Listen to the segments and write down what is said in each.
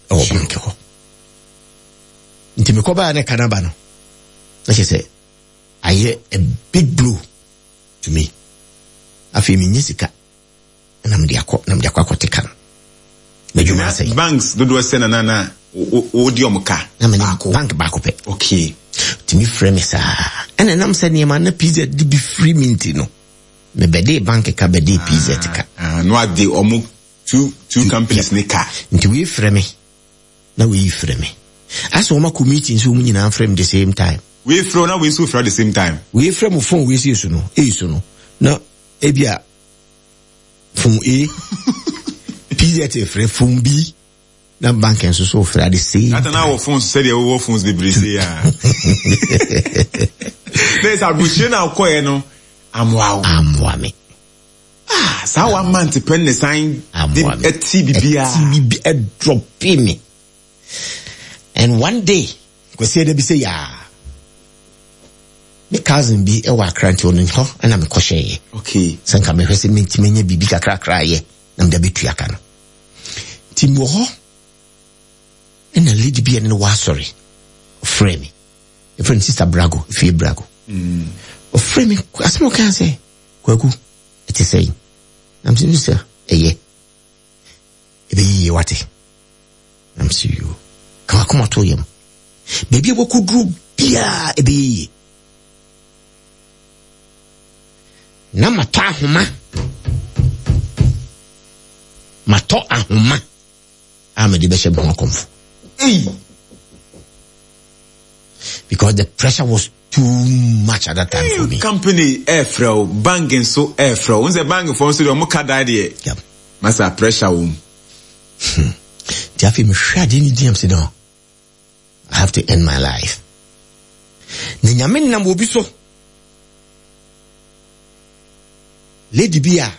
Ɛwɔ bank hɔ. Nti mekɔbaa ne ka no aba no, na kyerɛ sɛ ayɛ a big blow to me. Afei menyɛ sika na mede akɔ na mede akɔ akɔte ka no. M'adwuma asɛe. Banks dodoɔ sɛ na na na wodi ɔmo ka? Na mene bank baako pɛ. Okay. Tumi frɛ me saa. Ɛna ɛnam sɛ nneɛma na PZ de bi firi me nti no, mebɛdee bank ka bɛdee PZ ka. Ah, no ade ɔmo two two companies ne ka. Nti wei frɛ me na wei frɛ me. Asɛ wɔn akɔ meeting so wɔn nyinaa frɛ me the same time. Wei frɛ na wei nso frɛ the same time. Wei frɛ mo phone wei si so no, eyi so no na ebi a phone A, PZ frɛ phone B na bank nso so frɛ at the same time. Ata na wɔ phones sɛdeɛ wowɔ phones bebree sei a. Na ɛsɛ aburokyire na akɔɛ no amoa wo. Amoa me. Ah, saa one month pɛ ne san de ɛti biribiara. Ɛti biribi ɛdrɔpe me. And one day, kwasi ɛda bi sɛ yaa. Me cousin bi ɛwɔ Accra nti ɔno hɔ ɛna mekɔhyɛeɛ. Okay. Sɛ nka mehwɛ sɛ mentumi anya biribi kakrakra yɛ na mede abɛtua ka no. Nti mewɔ hɔ ɛna lady bi a ɛne no wɔ asɔre ɔfrɛ me. Ɛfrɛ no Sister Brago, Fie Brago. Ɔfrɛ me asɛm ɔkaa sɛ Kwaku, ɛte sɛn? Na mese, Sister, ɛyɛ. Ɛbɛyɛ yie wate. Na mese, yoo. Ka w'akoma to yam. Baabi a wakɔduru biara ɛbɛyɛ yie. Na matɔ ahoma. Matɔ ahoma a mede bɛhyɛ me ho akɔmfo. Ei! Because the pressure was too much at that time for me. Company ɛɛfrɛ wo, bank nso ɛɛfrɛ wo. N sɛ bank foɔ nso deɛ ɔmo ka daa deɛ. Yep. Masa pressure wɔ mu. Nti afei mehwɛ adeɛ no din am sɛ no, I have to end my life. Na nyame nam obi so. Lady bi a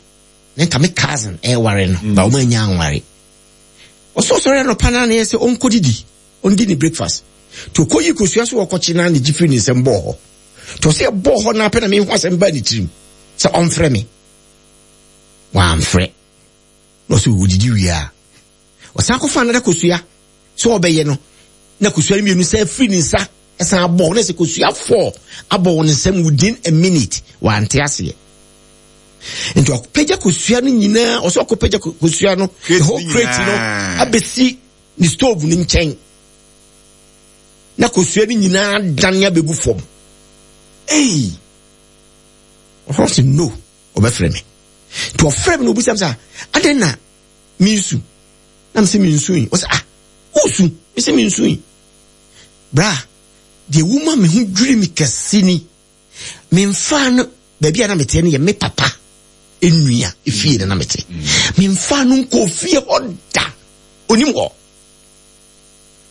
ne nka me cousin ɛɛware no, ba wɔn anya anware. Ɔsɛ ɔsɔre anɔpa naa na yɛ sɛ ɔnkɔdidi. Ɔndi ne breakfast. Nti ɔkɔyi kosua so ɔkɔkye na ne gye firi ne nsam bɔɔ hɔ. Nti ɔsɛ ɛbɔɔ hɔ na apɛ na mehu asɛm baa ne tirim sɛ ɔmfrɛ me. Wamfrɛ. Na ɔsɛ ɔdidi wie a ɔsan kɔfa another kosua sɛ ɔbɛyɛ no na kosua no mmienu sɛ firi ne nsa ɛsan abɔ na sɛ kosua fɔɔ abɔ wɔ ne nsam within a minute wante aseɛ. Nti ɔpɛgya kosua no nyinaa ɔsɛ ɔkɔpɛgya kosua no the whole crate no abɛsi ne stove no nkyɛn na kosua no nyinaa dane abɛgu fam. Ei! Ɔhɔ sɛ no, ɔbɛfrɛ me. Nti ɔfrɛ me na ɔbisa me sɛ, adɛn na mensu? Na mesɛ mensu yi. Ɔsɛ ah, wosu? Mesɛ mensu yi. Bra, deɛ woma me ho dwiri me kɛse ni. Memfaa no baabi a na meteɛ no yɛ me papa nnua efie na na mete. Memfaa no nkɔɔ fie hɔ da. Onim hɔ.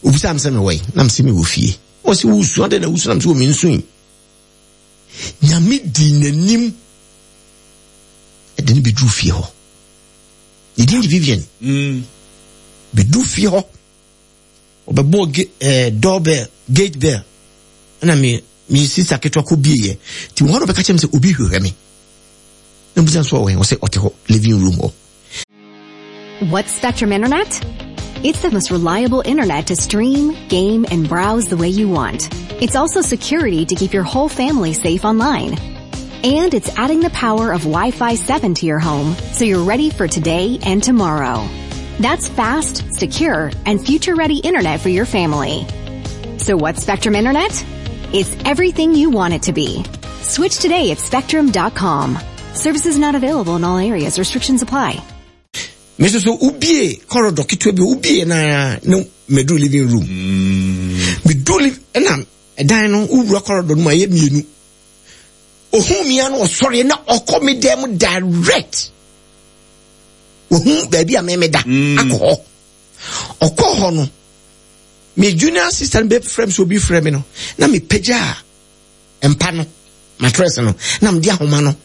Obisaa me sɛ mewɔ yi, na mese mewɔ fie. Ɔse wosu, adɛn na wosu? Na mese wɔ mensu yi. Nyame dii n'anim ɛde no bɛduru fie hɔ. Ne din de Vivian. Bɛduru fie hɔ. Ɔbɛbɔɔ ge eh, doorbell, gate bell. Ɛna me me sista ketewa kɔ bieɛ. Nti wɔ hɔ na ɔbɛka kyerɛ me sɛ obi hwehwɛ me. Na mbisa nso ɔwɔ he? Ɔsɛ ɔte hɔ living room hɔ. What's Spectrum Internet? It's the most reliable internet to stream, game, and browse the way you want. It's also security to keep your whole family safe online. And it's adding the power of Wi-Fi 7 to your home so you're ready for today and tomorrow. That's fast, secure, and future-ready internet for your family. So what's Spectrum Internet? It's everything you want it to be. Switch today at spectrum.com. Services not available in all areas. Restrictions apply. Me nso so wobie corridor ketewa bi wobie na na meduru living room. Meduru liv ɛna ɛdan no wowura corridor no mu ayɛ mmienu. Ohun mi ano ɔsɔre na ɔkɔ me dan mu direct. Ohun baabi a mɛmɛ da akɔ hɔ. Ɔkɔ hɔ no me junior sister no bɛfrɛ me sɛ obi frɛ me no na mepagya mpa no mattress no na mede ahoma no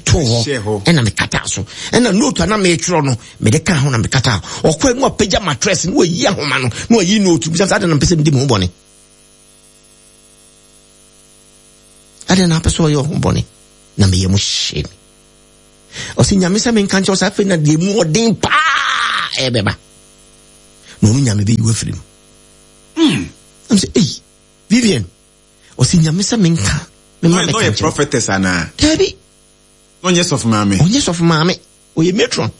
too hɔ ɛna mekata so ɛna note a na metwerɛ no mede ka ho na mekata ɔkɔ mu apagya mattress no wayi ahoma no na wayi note bisa sɛ adɛn na mpɛ sɛ medi me ho bɔne adɛn na apɛ sɛ ɔyɛ ɔho bɔne na meyɛ mo hyɛ me ɔsɛ nyame sɛ menka nkyɛw sɛ afei na deɛ mu ɔden paa ɛbɛba. Na ɔno Nyame bɛyi wo afiri mu. Mm. Nam sɛ, ei, Vivian, ɔsi Nyame sɛ menka, mema mɛka nkyerɛ. prophetess anaa? Daabi. Na ɔnyɛ sɔfo maame? Ɔnyɛ sɔfo maame, ɔyɛ matron.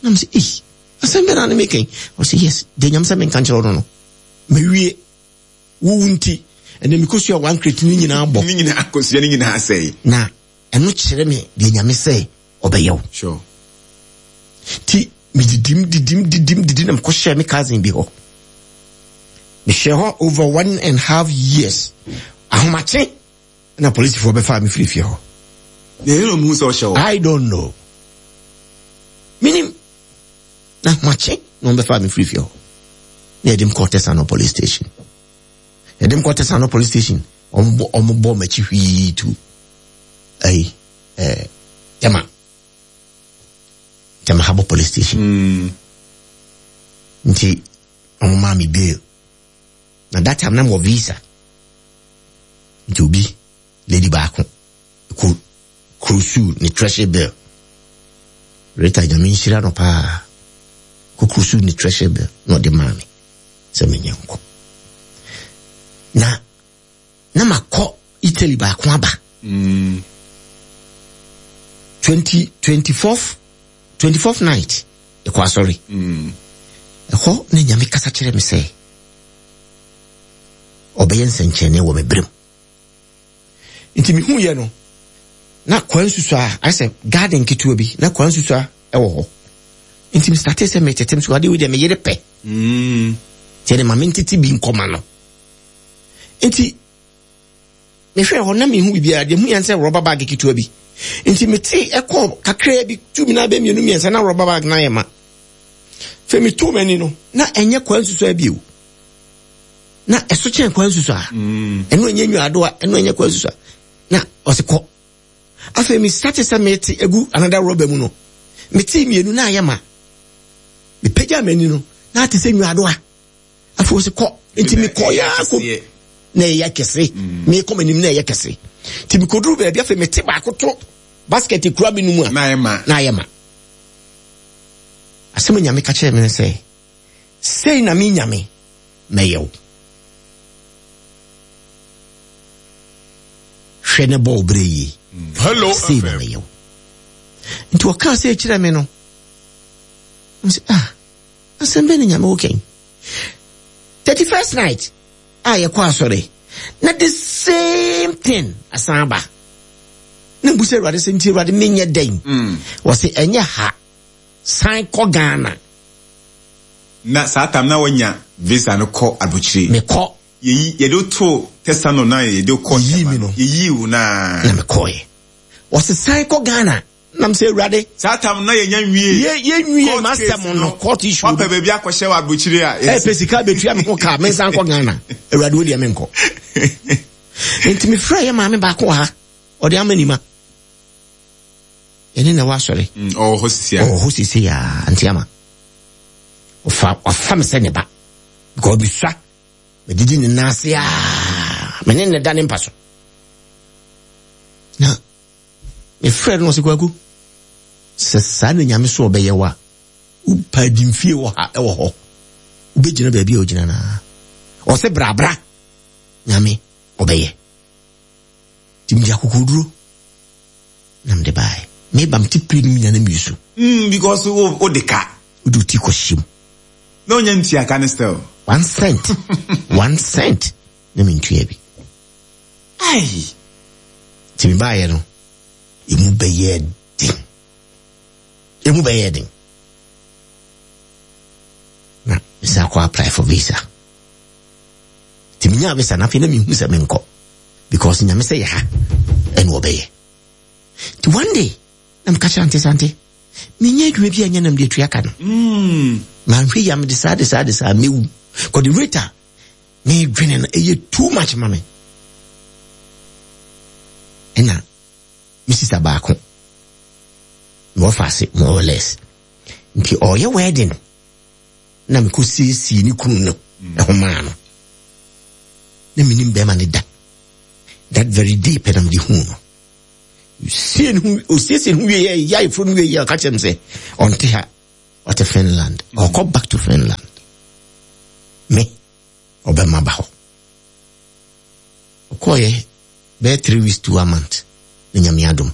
Nam sɛ, ei, asɛm bɛ na ne meka yi? Ɔsi yes, deɛ Nyame sɛ menka nkyerɛ ɔno no, mawie. Wowu nti, ɛnɛ mekosua one crate no nyinaa bɔ. Ne nyinaa kosua ne nyinaa sɛe. Na ɛno kyerɛ me deɛ Nyame sɛ ɔbɛyɛ wo. Sure. Ti medidim didim didim didim na mekɔhyɛɛ me cousin bi hɔ. Mehyɛ hɔ over one and half years. Ahomakye na polisifoɔ bɛfaa me firi fie hɔ. Na ɛyɛ na ɔmo hu sɛ ɔhyɛ hɔ. I don't know. Minim. Na ahomakye na ɔmo bɛfaa me firi fie hɔ. Na yɛde me kɔɔ Tesano police station. Yɛde me kɔɔ Tesano police station. Ɔmo bɔ ɔmo bɔ m'akyi hwii tu. Ayi. eh, Tema Tema Harbour Police Station. Mm. Nti wɔn maa me bail. Na that time na mo visa. Nti obi lady baako ko kurusu ne treasury bill. Rita nyame nhyira no paa. Ko kurusu ne treasury bill na ɔde maa me sɛ menyɛ nkɔ. Na na makɔ Italy baako aba. Mm. 20, 24th, 24th night ɛkɔ asɔre. Mm. Ɛhɔ na Nyame kasa kyerɛ me sɛ ɔbɛyɛ nsɛnkyerɛnne wɔ me berɛ mu. Nti mehu yɛ no na kwan susua ayɛ sɛ garden ketewa bi na kwan susua ɛwɔ hɔ. Nti me startee sɛ metetem so adeɛ wei deɛ me yere pɛ. Mm. Nti ɛde ma mentete bi nkɔma no. Nti mehwɛɛ hɔ na mehu biribiara deɛ hu yɛn sɛ rɔba bag ketewa bi nti mete ɛkɔ kakraa bi tu mi na bɛ mmienu mmiɛnsa na rɔba bag na ayɛ ma fɛ metu m'ani no na ɛnyɛ kwan susua bio na ɛso kyɛn kwan susua mm. ɛno ɛnyɛ nnuadoa ɛno ɛnyɛ kwan susua na ɔse kɔ afei me starte sɛ mete egu another rɔba mu no mete mmienu na ayɛ ma mepagya m'ani no na ate sɛ nnuadoa afei ɔsi kɔ nti mekɔ yɛ akɔ na ɛyɛ kɛse mm. mekɔ m'anim na ɛyɛ kɛse nti mekoduru baabi afei mete baako to basket kura me no mu a na ayɛ ma asɛm nyame ka kyerɛ me no sɛ sei na me nyame mɛyɛ wo hwɛ ne bɔ wo berɛ yie sei na mɛyɛ wo nti ɔkaa sɛ kyerɛ me no ah Asɛm bɛn na Nyame wo kɛn? 31st night a yɛkɔ asɔre na the same thing asan aba. Na mbu sɛ Awurade sɛ nti Awurade menyɛ dɛn? Mm. Wɔse ɛnyɛ ha san kɔ Ghana. Na saa tam na wanya visa no kɔ abukyire. Mekɔ. Yɛyi yɛde to tɛsa no na yɛde kɔ. Yɛyi mi no. Yɛyi wo na. Na mekɔɛ. Wɔse san kɔ Ghana. Nam sɛ Awurade. Saa tam na yɛnya nwie. Yɛ yɛ nwie m'asɛm no court issue. Wapɛ baabi akɔhyɛ wɔ aburokyire a. Ɛpɛ sika betua me ho ka me nsan kɔ Ghana. Awurade wo deɛ me nkɔ. Nti me frɛ yɛ maame baako wɔ ha. Ɔde ama nima. Yɛne na ɛwɔ asɔre. Mm, ɔwɔ hɔ sisi a. Ɔwɔ hɔ sisi a nti ama. Ɔfa wafa me sɛ ne ba. Because bisua. Medidi ne nan ase a. Me ne ne da ne mpa so. Na Mefrɛɛ no na ɔse Kwaku, sɛ saa na Nyame so ɔbɛyɛ wo a, wopa adimfie wɔ ha ɛwɔ hɔ, wobɛgyina baabi a wogyina no ara. Ɔse bra bra, Nyame ɔbɛyɛ. Nti mede akokoduro na mede baeɛ. Meba mete plane mu nyina na mesu. Mm, because wo wo de ka. Wode wo ti kɔhyɛ mu. Na onya ntua ka ne still. One cent, 1 cent na mentua bi. Ai! Nti mebaeɛ no, emu bɛyɛɛ den. Emu bɛyɛɛ den. Na mesan kɔ apply for visa. Nti menyaa visa no afei na mehu sɛ menkɔ because Nyame sɛ yɛ ha ɛna ɔbɛyɛ. Nti one day na meka kyerɛ ante sɛ ante menyɛ adwuma bi a ɛnyɛ nam de atua ka no. Mm. Manhwɛ yi a mede saa de saa de saa mewu. Kɔde rate a medwene no ɛyɛ too much ma me. Ɛna me sista baako mewɔ ase more or less nti ɔyɛ wedding na mekɔ siesie ne kunu no ɛho maa no na menim bɛrima ne da that very day pɛ na mede huu no sie ne ho osiesie ne ho wie yɛ yɛ ayeforo no wie yɛ ɔka kyerɛ me sɛ ɔnte ha. Ɔte Finland. Ɔkɔ back to Finland. Me, ɔbɛma ba hɔ. Ɔkɔɔyɛ bɛyɛ 3 weeks to one month na Nyame adom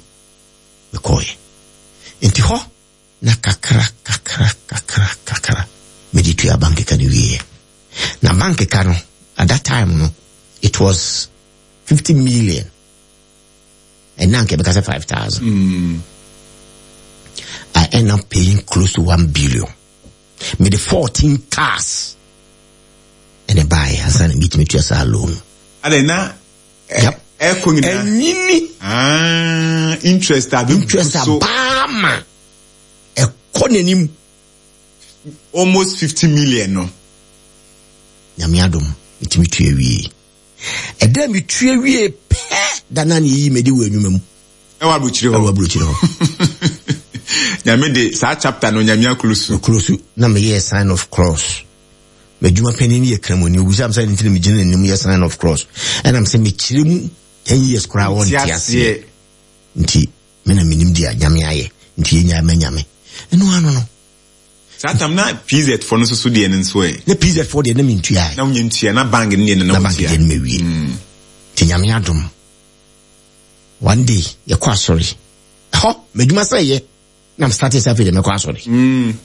mekɔɔyɛ. Nti hɔ na kakra kakra kakra kakra mede tua bank ka no wieɛ. Na bank ka no at that time no it was 50 million. Ɛna anka ɛbɛka sɛ 5,000. I end up paying close to 1 billion. Mede 14 cars ɛna ɛbaeɛ ansa na metumi tua saa loan. Adɛn na Yep. ɛkɔ nyinaa? Ɛnyini. Ah, interest a bɛbu Interest so. abaa ma ɛkɔ n'anim. Almost 50 million no. Nyame adom metumi tua wie. Ɛda metua wie pɛ da na ne yɛyi mede wɔ anwuma mu. Ɛwɔ aburokyire hɔ. Ɛwɔ aburokyire hɔ. Nyame de saa chapter no Nyame akolo so. Akolo so na meyɛɛ sign of cross. M'adwuma panin no yɛ kramoni. Obisa me sɛ nti na megyina n'anim yɛ sign of cross. Ɛnam sɛ mekyerɛ mu 10 years koraa wɔnte aseɛ. Nti me na menim deɛ Nyame ayɛ. Nti yɛnyaa ma Nyame. Ɛno ano no. Saa tam na PZ foɔ no nso so deɛ no nso ɛ. Na PZ foɔ deɛ na mentua. Na wonyɛ ntua na bank no deɛ no na Na bank deɛ no mawie. Nti Nyame adom. One day yɛkɔ asɔre. Ɛhɔ m'adwuma sɛ yɛ na m start sɛ afei deɛ mɛkɔ asɔre.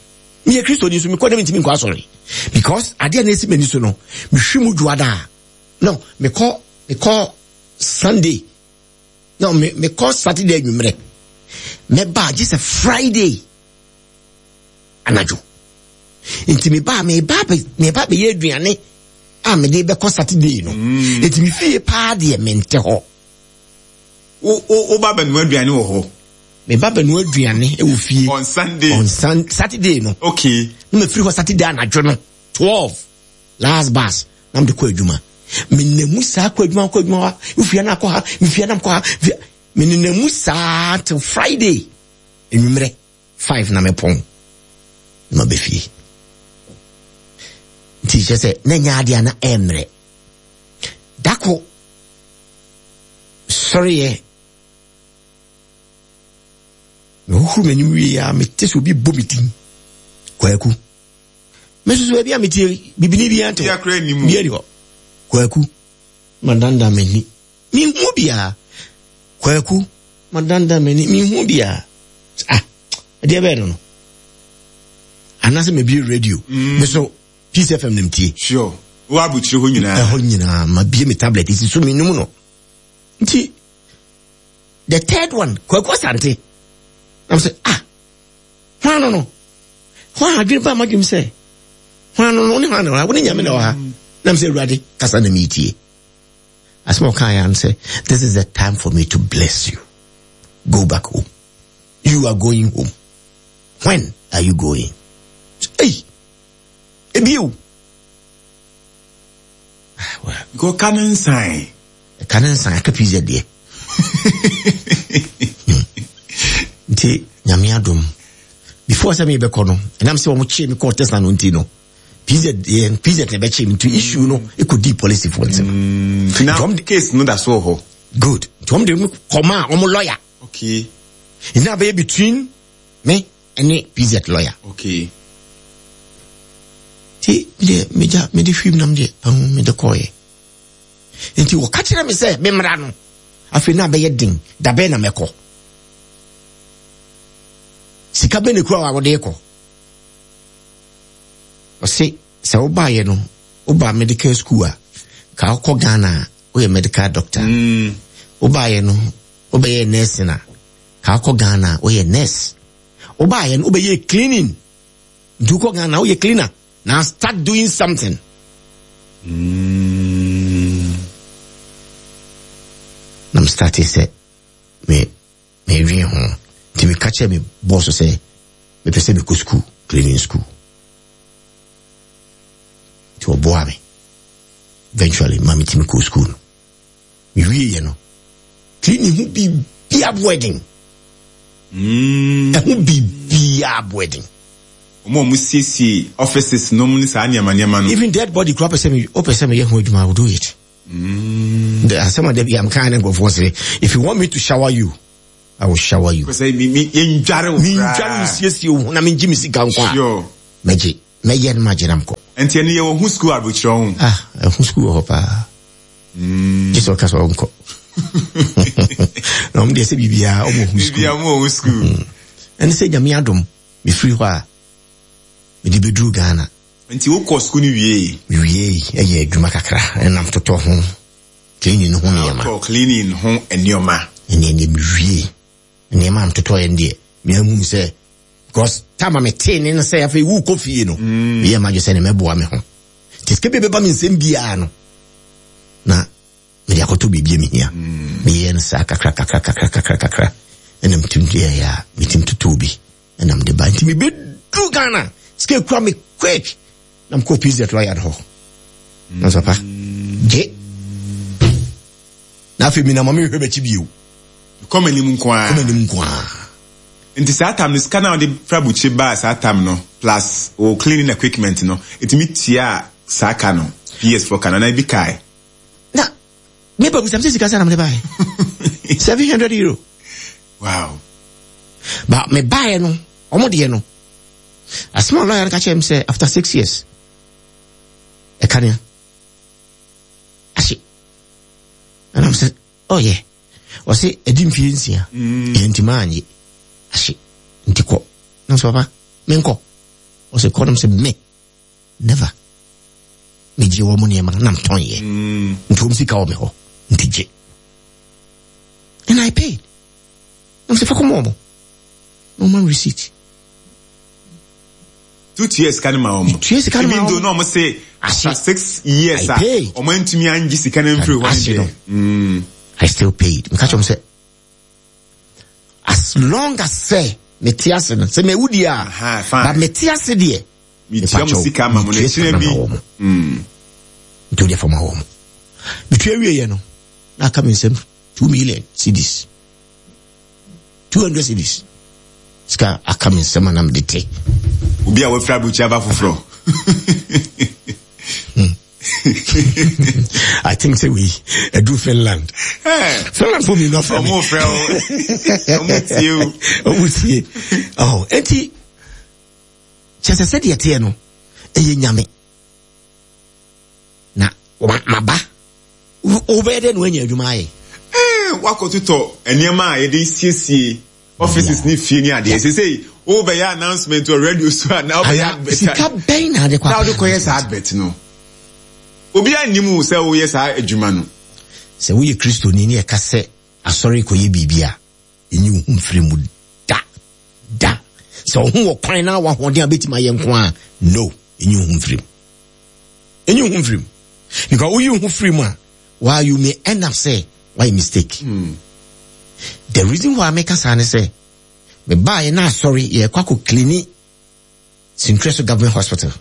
Meyɛ Kristoni nso mekɔ na mentumi nkɔ asɔre because adeɛ na ɛsi m'ani so no mehwe mu dwoada a no mekɔ mekɔ Sunday no me mekɔ Saturday anwummerɛ mɛba gye sɛ Friday anadwo nti meba meba meba bɛyɛ aduane a mede bɛkɔ Saturday no nti me fie paa deɛ mente hɔ. Wo ba bɛnoa aduane wɔ hɔ? Me ba bɛnoa aduane wɔ fie. On Sunday. On sun Saturday no. Okay. Na mefiri hɔ Saturday anadwo no 12 last bus na mede kɔ adwuma. Menam mu saa kɔ adwuma kɔ adwuma hɔ mefiri na akɔ ha mefiri na kɔ ha menenam mu saa till Friday anwummerɛ 5 na mepɔn na maba fie. Nti kyerɛ sɛ na nyɛ adeɛ a na ɛmmerɛ. Dako sɔreɛ mehohoro m'anim wie a mete sɛ obi bɔ me din Kwaku. Me nso so baabi a metie bibini biara nte hɔ biara ni hɔ. Kwaku madandan m'ani menhu biara. Kwaku madandan m'ani menhu biara. Ah, ɛdeɛ bɛyɛ no no anaasɛ mabie radio me so Peace FM na metie. Sure. Wo abukyire hɔ nyinaa. Ɛhɔ nyinaa mabie me tablet esi so menum no. Nti the third one Kwaku Asante. Na sɛ ah hwan no no hwan adwene ba madwene sɛ hwan no no ne hwan na wɔ ha wo ne Nyame na wɔ ha. Na sɛ Awurade kasa na metie. Asɛm a ɔkaa yɛ ano sɛ this is the time for me to bless you. Go back home. You are going home. When are you going? Hey! Ebio. Because ka ne nsan. Ka ne nsan aka pizza deɛ. Nti Nyame adom. Before sɛ mebɛkɔ no, ɛnam sɛ wɔn kyee me kɔɔ Tesla no nti no, PZ yɛn PZ na ɛbɛkyee me nti issue no ɛkɔdii policefoɔ nsam. Nti na case no da so wɔ hɔ. Good. Nti wɔn de me kɔmaa wɔn lawyer. Okay. Nti na bɛyɛ between me ɛne PZ lawyer. Okay. Nti deɛ megya mede hwim nam deɛ ahu mede kɔɔyɛ. Nti wɔka kyerɛ me sɛ memmra no. Afei na abɛyɛ den dabɛn na mɛkɔ. Sika bɛn na ekura wa wɔde kɔ. Ɔse sɛ wobaayɛ no woba medical school a ka wokɔ Ghana a woyɛ medical doctor. Wobaayɛ no wobɛyɛ nursing a ka wokɔ Ghana a woyɛ nurse. Wobaayɛ no wobɛyɛ cleaning. Nti wokɔ Ghana woyɛ cleaner. Now start doing something. Na me start sɛ me medwen ho. Nti meka kyerɛ me boss sɛ mepɛ sɛ mekɔ school, cleaning school. Nti ɔboa me. Eventually ma metumi kɔ school no. Mewieɛ no, cleaning ho biribiara boɔ den. Ɛho biribiara boɔ den. Wɔn a wɔsiesie offices nom ne saa nneɛma nneɛma no. Even dead body kura pɛ sɛ me wopɛ sɛ meyɛ ho adwuma, I will do it. The asɛm a da bi am kan ne nkurɔfoɔ sɛ, if you want me to shower you, I will shower you. Sɛ mi mi yɛndware wo koraa. Mendware wo siesie wo ho na mengye me sika nko a. Sure. Mɛgye. Mɛyɛ no magye na mkɔ. Nti ɛno yɛwɔ ho sukuu aburokyerɛ ho. Ah, ɛho sukuu wɔ hɔ paa. Gye sɛ ɔka sɛ ɔnkɔ. Na ɔmo deɛ sɛ biribiara ɔmo wɔ ho sukuu. Biribiara ɔmo wɔ ho sukuu. Ɛne sɛ Nyame adom mefiri hɔ a mede bɛduru Ghana. Nti wokɔ sukuu no wiei? Mewiei ɛyɛ adwuma kakra ɛnam totɔ ho cleaning no ho nneɛma. Wotɔɔ cleaning ho nneɛma. Ɛne ɛneɛ mewiei nneɛma a metotɔeɛ no deɛ meahunu sɛ because time a metee ne no sɛ afei wokɔ fie no mm. meyɛ m'adwe sɛ ne mɛboa me ho nti sika bi bɛba me nsɛm biara no na mede akɔtɔ biribi a mehia mm. meyɛ no saa kakra kakra kakra kakra kakra ɛna metim yɛyɛ a metim totɔɔ bi ɛna mede ba nti mebɛduru Ghana sika kura me quick na mekɔɔ PZ lawyer no hɔ na sɛ papa gye na afei menam a menhwɛ m'akyi bio kɔ m'anim nko ara kɔ m'anim nko ara nti saa tam no sika no a wɔde fra bukyire baa saa tam no plus wɔ cleaning equipment no ɛtumi tua saa ka no PS fo ka no anaa ebi kae na me ba busam sɛ sika sɛ na mede baeɛ 700 euro wow ba me baeɛ no ɔmo deɛ no asɛm a lawyer no ka kyerɛ me sɛ after six years ɛka nea ahye ɛna m sɛ oh yeah ɔse ɛdi mfie nsia mm. ɛyɛ nti maa nye ahye nti kɔ na sɛ papa menkɔ ɔse kɔ nom sɛ me never megye wɔ mo nneɛma na metɔnyɛ mm. nti wɔm sika wɔ me hɔ nti gye and I paid na sɛ fa kɔma ɔmo na ɔma receipt Tu tua sika no ma wɔn. Tua sika no ma wɔn. Even though na wɔn se after 6 years a wɔn antumi angye sika no mfiri hɔ no deɛ. Mm. I still paid. Meka kyerɛ wɔn sɛ as long as sɛ mete ase no sɛ mewu deɛ a but mete ase deɛ. Metua mo sika ma mo na ɛkyerɛ bi. Nti o deɛ fa ma wɔn. Metua wie yɛ no na aka me nsam 2 million cedis. 200 cedis sika aka me nsɛm a na mede te obi a wafiri aburokyi aba foforɔ. I think sɛ wei ɛduru Finland. Finland fo mmienu afrɛ me. Ɔmo frɛ wo. Ɔmo tie o. Ɔmo tie. Ɔho enti kyɛ sɛ sɛdeɛ teɛ no ɛyɛ nyame na maba wobɛyɛ dɛ na woanya adwuma ayɛ. Wakɔtotɔ nneɛma a yɛde siesie offices ne fie ne adeɛ sesei wobɛyɛ announcement wɔ radio so a na wobɛyɛ advert sika bɛn na ade kɔ na wode kɔyɛ saa advert no obiara nnim wo sɛ woyɛ saa adwuma no. Sɛ woyɛ Kristoni ne ɛka sɛ asɔre kɔyɛ biribi a, ɛnyi wo ho mfiri mu da da. Sɛ wo ho wɔ kwan na wahoɔden a bɛtumi ayɛ nko a, no, ɛnyi wo ho mfiri mu. Ɛnyi wo ho mfiri mu. Because woyi wo ho firi mu a, why you may end up sɛ wayɛ mistake. The reason why meka saa ne sɛ, mebaeɛ na asɔre yɛkɔ akɔ clini Sintrɛ so government hospital.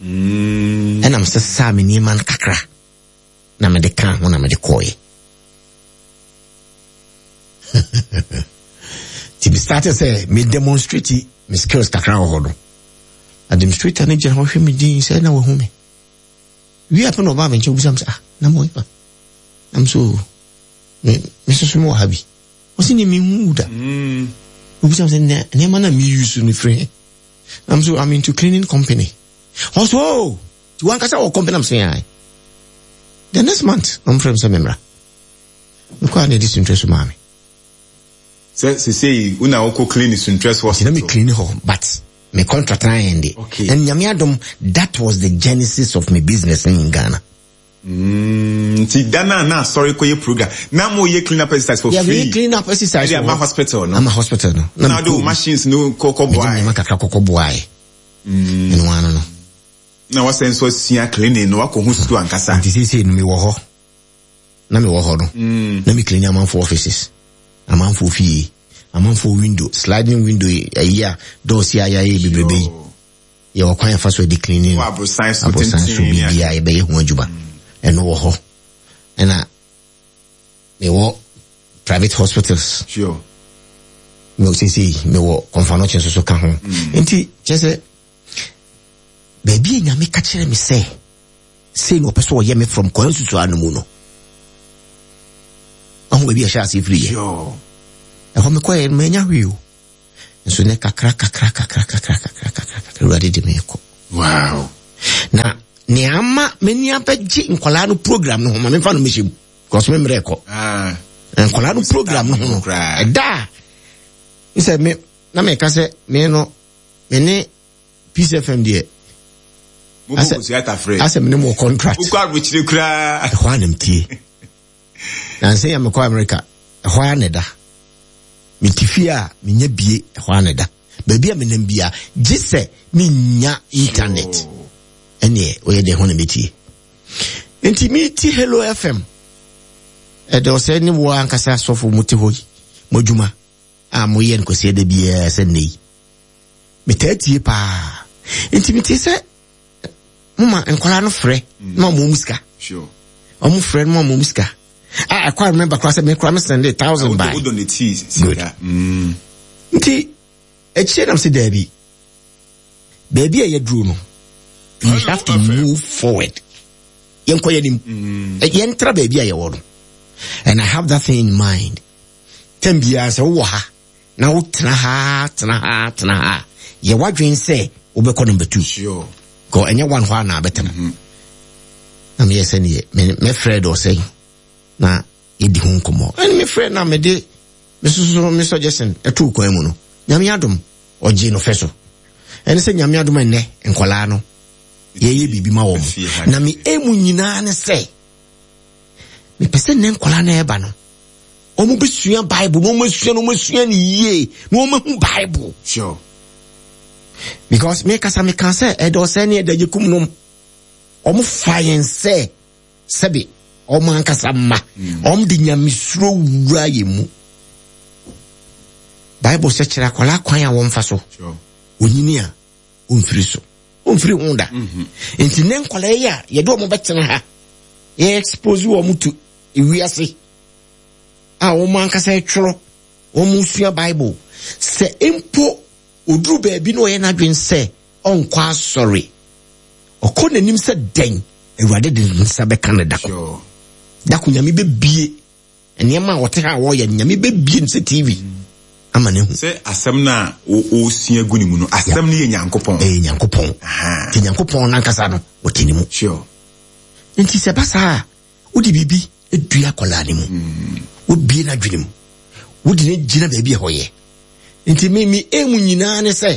Ɛna mesesaa me nneɛma no kakra na mede kaa ho na mede kɔɔeɛ. Nti me start sɛ me demonstrate me skills kakra wɔ hɔ no. Administrator no gyina hɔ hwɛ me din sɛ na wahu me. Wie apɛ na ɔbaa me nkyɛn obisa me sɛ ah na mo fa. Na me so me me soso me wɔ ha bi. Ɔsi ne me hu da. Obisa me sɛ nneɛma na me use no firi he. Na me so I'm into cleaning company. Ɔso oh ti wankasa wɔ company am sɛ ae. The next month ɔmo frɛ me sɛ memmra. Mekɔ a na ɛde suntrɛ so maa me. Sɛ sesei wo na wokɔ clean Suntress hospital. Nti na me clean hɔ but me contract na ayɛ nde. Okay. And Nyame adom that was the genesis of my business in Ghana. Nti da na na asɔre kɔyɛ program na mo yɛ clean up exercise for yeah, free. Yeah, clean up exercise. Ɛde ama hospital no. Ama hospital no. Na de o machines no kɔkɔ boae. Mede nneɛma kakra kɔkɔ boae. Ɛno ano no. Na wasɛn nso asua cleaning no wakɔ ho sukuu ankasa. Nti seesei no mewɔ hɔ. Na mewɔ hɔ no. Na me clean amanfoɔ offices. Amanfoɔ fie. Amanfoɔ window, sliding window ayi a doors yi a yɛayɛ bebrebe yi. Yɛwɔ kwan yɛfa so de cleaning. Wɔ aborosan so Aborosan so tenten ne biribi a yɛbɛyɛ ho adwuma. Ɛno wɔ hɔ. Ɛna mewɔ private hospitals. Sure. Me seesei mewɔ Kɔmfanɔkye nso so ka ho. Nti kyerɛ sɛ baabi a Nyame ka kyerɛ me sɛ sei na ɔpɛ sɛ ɔyɛ me from kwan susua no mu no. Ɔho baabi a ɛhyɛ aseɛ firi yɛ. Sure. Ɛhɔ mekɔɛ no manya hwee o. Nso ne kakra kakra kakra kakra kakra kakra kakra Awurade de me kɔ. Wow. Na nea ama m'ani abɛgye nkwadaa no program no ho ma memfa no mehyɛ mu because me mmerɛ kɔ. Ah. Nkwadaa no program no ho no ɛda a sɛ me na meka sɛ me no me ne Peace FM deɛ asɛ me ne mo contract. Wokɔ aburokyire koraa. Ɛhɔ a na metie. Nansa yi a mekɔ America, ɛhɔ ara na ɛda. Mete fie a, menya bie, ɛhɔ ara na ɛda. Baabi a menam bia, gye sɛ menya internet. Ɛneɛ, ɔyɛ deɛ ho na metie. Nti meti Hello FM. Ɛdɛ ɔsɛ ne wo ankasa sɔfo mo te hɔ yi, mo adwuma a moyɛ no kwasi ɛda biara sɛ nnɛ yi. Metaa tie paa. Nti metie sɛ moma nkwadaa no frɛ na ɔmo ɔmo sika ɔmo frɛ no ma ɔmo ɔmo sika a ɛkɔ a remember koraa sɛ me koraa me send a thousand by good mm. nti akyire nam sɛ daabi baabi a yɛduro no we have to move forward yɛnkɔ yɛnim mm. yɛntra baabi a yɛwɔ no and I have that thing in mind tɛm biara sɛ wowɔ ha na wotena ha tena ha tena ha yɛ w'adwene sɛ wobɛkɔ number two sure. kɔ ɛnyɛ one hɔ a na abɛtena mm -hmm. na meyɛ sɛ neɛ mɛfrɛ dɛ ɔsɛe na yɛdi ho nkɔmmɔ ɛne mefrɛ na mede mesoso me suggestion ɛtoo kwan mu no nyame adom ɔgye no fɛ so ɛne sɛ nyame adom ɛnnɛ nkɔlaa no yɛyɛ biribi ma wɔn na me emu nyinaa ne sɛ mepɛ sɛ nnɛ nkɔlaa no ɛba no wɔn bɛsua bible na wɔn asua na wɔn asua no yie na wɔn ahu bible. Sure. Because me kasa me kan sɛ ɛdɔ sɛ ne ɛdɔ kum nom wɔn fa yɛn sɛ sɛbi wɔn ankasa mma hmm. wɔn de nyamesuro wura yɛn mu. Bible sɛ kyerɛ akwadaa kwan a wɔn fa so. Onyini a ɔmfiri so ɔmfiri ho da mhm. nti ne nkwadaa yi a yɛde wɔn bɛtena ha yɛ expose wɔn to ewiase a wɔn ankasa twerɛ wɔn sua bible sɛ mpo oduru baabi na ɔyɛ n'adwene sɛ ɔnkɔ asɔre ɔkɔ n'anim sɛ dɛn awurade de ne nsa bɛka no dako dako nyame bɛbie nneɛma a ɔte ha a wɔyɛ no nyame bɛbie no sɛ tv ama no ahu sɛ asɛm no a ɔsua gu ne mu no asɛm no yɛ nyankopɔn ɛyɛ nyankopɔn nti nyankopɔn no ankasa no ɔte ne mu sure. nti sɛ ba saa a wode biribi dua akwadaa no mu wobie no adwene mu wode no gyina baabi a ɛhɔ yɛ nti me me emu nyinaa ne sɛ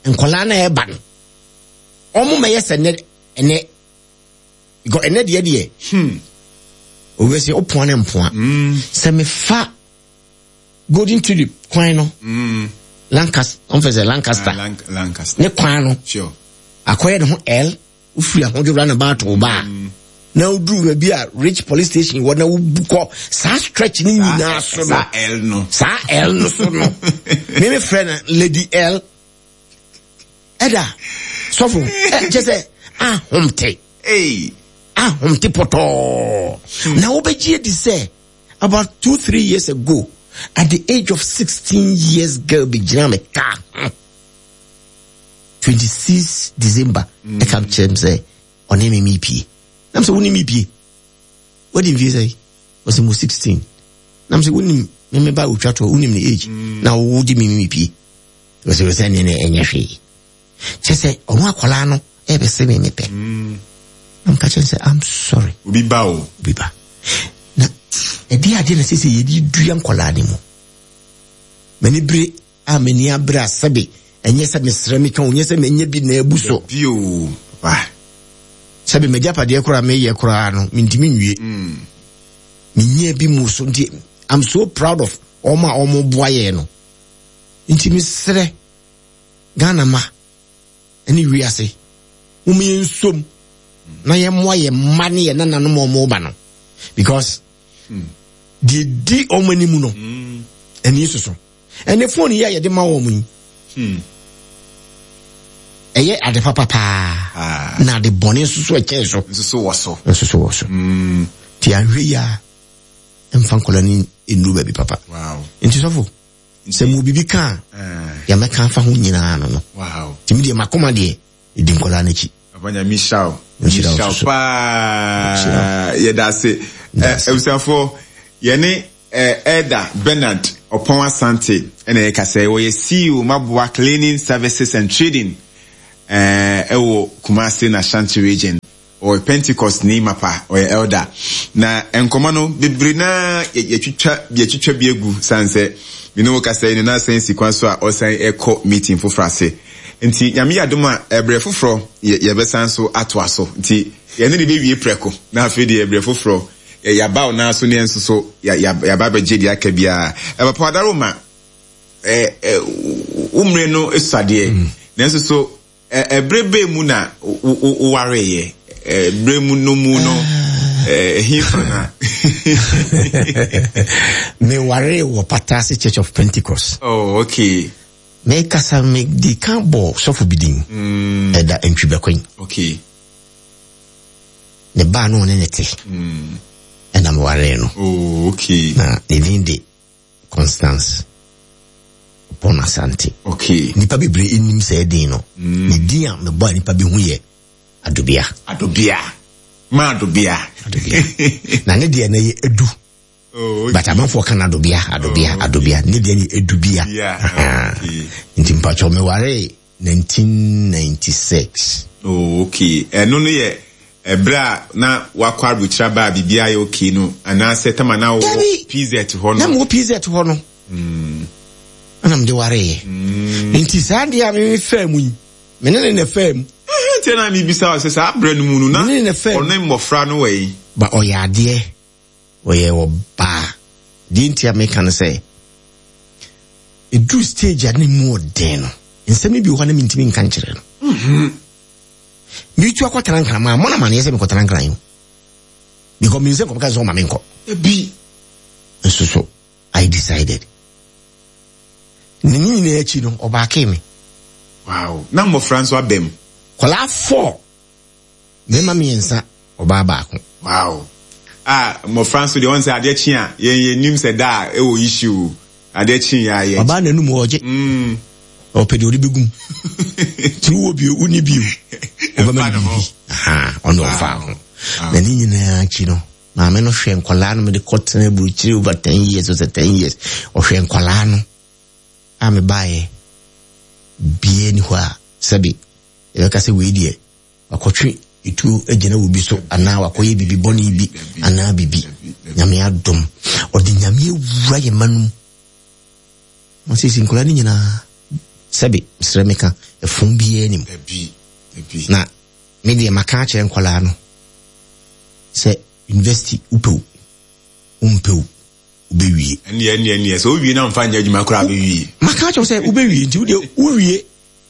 nkwadaa no a ɛba no wɔn mɛyɛ sɛ ɛnɛ ɛnɛ because ɛnɛ deɛ deɛ hmm obi sɛ ɔpoa ne mpoa hmm. sɛ mefa golden tulip kwan no hmm. lancaster ɔmfɛ sɛ lancaster ah, ne kwan no akɔyɛ ne ho l wofiri ahodwo wura na ba ato ba a na woduru baabi a rich police station wɔ na wobu kɔ saa stretch ne nyinaa so no saa L no saa L no so no meme frɛ no lady L ɛda sɔfo kyɛ sɛ ahomte ahomte pɔtɔɔ hmm. na wobɛgye adi sɛ about 2 3 years ago at the age of 16 years girl bɛgyina me kaa ho 26 December ɛka mm. kyerɛ m sɛ ɔne me mepie nam sɛ wone mepie wadi mfie sɛ ɔsɛ mu 16 nam sɛ wonim me me ba otwa toɔ wonim ne age mm. na wode me mepie ɔsɛ sɛ ne ne ɛnyɛ hwee kyɛ sɛ ɔno akwadaa no ɛbɛsɛ me mepɛ mm. na mka kyerɛ sɛ I'm sorry obi ba o obi ba na ɛde adeɛ na sɛ sɛ yɛde dua nkwadaa no mu m'ani bere a m'ani abere a sɛbe ɛnyɛ sɛ mesrɛ meka o, nyɛ sɛ manya bi na abu so. Dabi o, papa. Sɛbe m'agyapadeɛ koraa meyɛ koraa no, mentumi nwie. Mm. Menya bi mu so nti, I'm so proud of wɔn a wɔn boa yɛn no. Nti mesrɛ Ghana ma ne wiase, wɔn yɛn nsom na yɛn mmoa yɛn mma ne yɛn nananom a wɔn ba no because hmm. deɛ di wɔn anim no hmm. ani soso. Ɛnɛ phone yi a yɛde ma wɔn yi, hmm. ɛyɛ ade papa paa ah. na ade bɔne nso so ɛkyɛn so. Nso so wɔ so. Nso so wɔ so. Hmm. Ti ahwɛ yi a mfa nkɔla no nnuru baabi papa. Nti sɔfo sɛ mo biribi ka a ah. yɛmɛka afa ho nyinaa no no. Nti mi deɛ makoma deɛ ɛdi nkɔla no akyi. Papa Nyame nhyira wo. Nhyira wo paa. Yɛda ase. Abusuafoɔ yɛne Elder Bernard. Ɔpɔn Asante ɛna yɛkasa yi. Ɔyɛ CEO Maboa Cleaning Services and Trading ɛɛ ɛwɔ Kumasi na Ashanti Region. Ɔyɛ Pentecostni mapa, ɔyɛ elder. Na nkɔmmɔ no, bebree no ara yɛtwitwa yɛtwitwa bi agu sane sɛ me ne wo kasa yi no na asan si kwan so a ɔsan rekɔ meeting foforɔ ase. Nti Nyame yɛ adom a ɛberɛ foforɔ yɛ yɛbɛsan so atoa so. Nti yɛne no bɛwie prɛko na afei deɛ ɛberɛ foforɔ yɛ yɛaba wo nan so ne yɛn nso so yɛ yɛaba abɛgye deɛ aka biara. Papa Adaroma, ɛ ɛ wo mmerɛ no sua deɛ, nanso so Ɛberɛ bɛn mu na wowareeɛ? Berɛ mu no mu no, ɛhefa na? Mewaree wɔ Patase Church of Pentecost. Oh, okay. Mekasa medi kan bɔ sɔfo bi din. Mm. Ɛda Ntwibɛkwan. Okay. Ne baa no ɔne ne te. Mm. Ɛna mewaree no. Oh, okay. Na ne din de Constance Oppong Asante. Okay. Nipa bebree nnim saa din no. Mm. Ne din a mebɔ a nipa bi hu yɛ Adobea. Adobea. Ma Adobea. Adobea. Na ne deɛ no yɛ Edu. Oh, okay. But amanfoɔ ka no Adobea, Adobea, oh, okay. Adobea. Ne deɛ no yɛ Edubea. Yeah. Oh, okay. Nti mpakyɛw mewaree 1996. Oh, okay. Ɛno no yɛ ɛberɛ a na wakɔ aburokyire aba a biribiara yɛ okay no anaasɛ tama na wowɔ PZ hɔ no? Na mewɔ PZ hɔ no. Mm. Ɛna mede wareeɛ. Mm. Nti saa deɛ a meme faa mu yi, me ne ne na faa mu. Nti na mebisa wo sɛ saa berɛ no mu no na ɔne mmɔfra no wɔ yi? Ba ɔyɛ adeɛ. Ɔyɛ ɔbaa. Deɛ nti a meka no sɛ, ɛduru stage a na mu ɔden no, nsɛm no bi wɔ hɔ a na mentumi nka nkyerɛ no. Mhm. Metu akɔtena nkran, mammɔ no amaneɛ sɛ mekɔtena nkran o. Because menim sɛ nkɔmka sɛ ɔma menkɔ. Ebi. Nso so, I decided. Ne nyinaa akyi no, ɔbaakee me. Wow. Na mmɔfra nso abam. Kɔlaa four. Mmarima mmiɛnsa, ɔbaa baako. Wow. Ah, mmɔfra nso deɛ wɔn sɛ adeɛ kye a yɛn yɛn nim sɛ da a ɛwɔ issue adeɛ kye yɛ ayɛ. Ɔbaa n'anum ɔgye. Mm. Ɔpɛ deɛ ɔde bɛgum. Tí wowɔ bio, wonni bio. Ɔbɛma no biribi. Ɔno ɔfa ho. Na ne nyinaa akyi no, maame no hwɛ nkwadaa no mede kɔtena aburokyire over 10 years ɔsɛ 10 years. Ɔhwɛ nkwadaa no a mebaeɛ bie ni hɔ a sɛbi yɛbɛka sɛ wei deɛ wakɔtwe etuo agyina wɔ bi so anaa wakɔyɛ biribi bɔne bi anaa biribi. Nyame adom. Ɔde Nyame awura yɛ ma no mu. Ma sisi nkwadaa no nyinaa sɛbe mesrɛ meka ɛfom biara nim. Na me deɛ maka akyerɛ nkwadaa no sɛ university wopɛ o wompɛ o wobɛwie. Ɛnneɛ ɛnneɛ ɛnneɛ sɛ wowie na mfa nyɛ adwuma koraa bɛwie. Maka akyerɛ sɛ wobɛwie nti wodeɛ wowie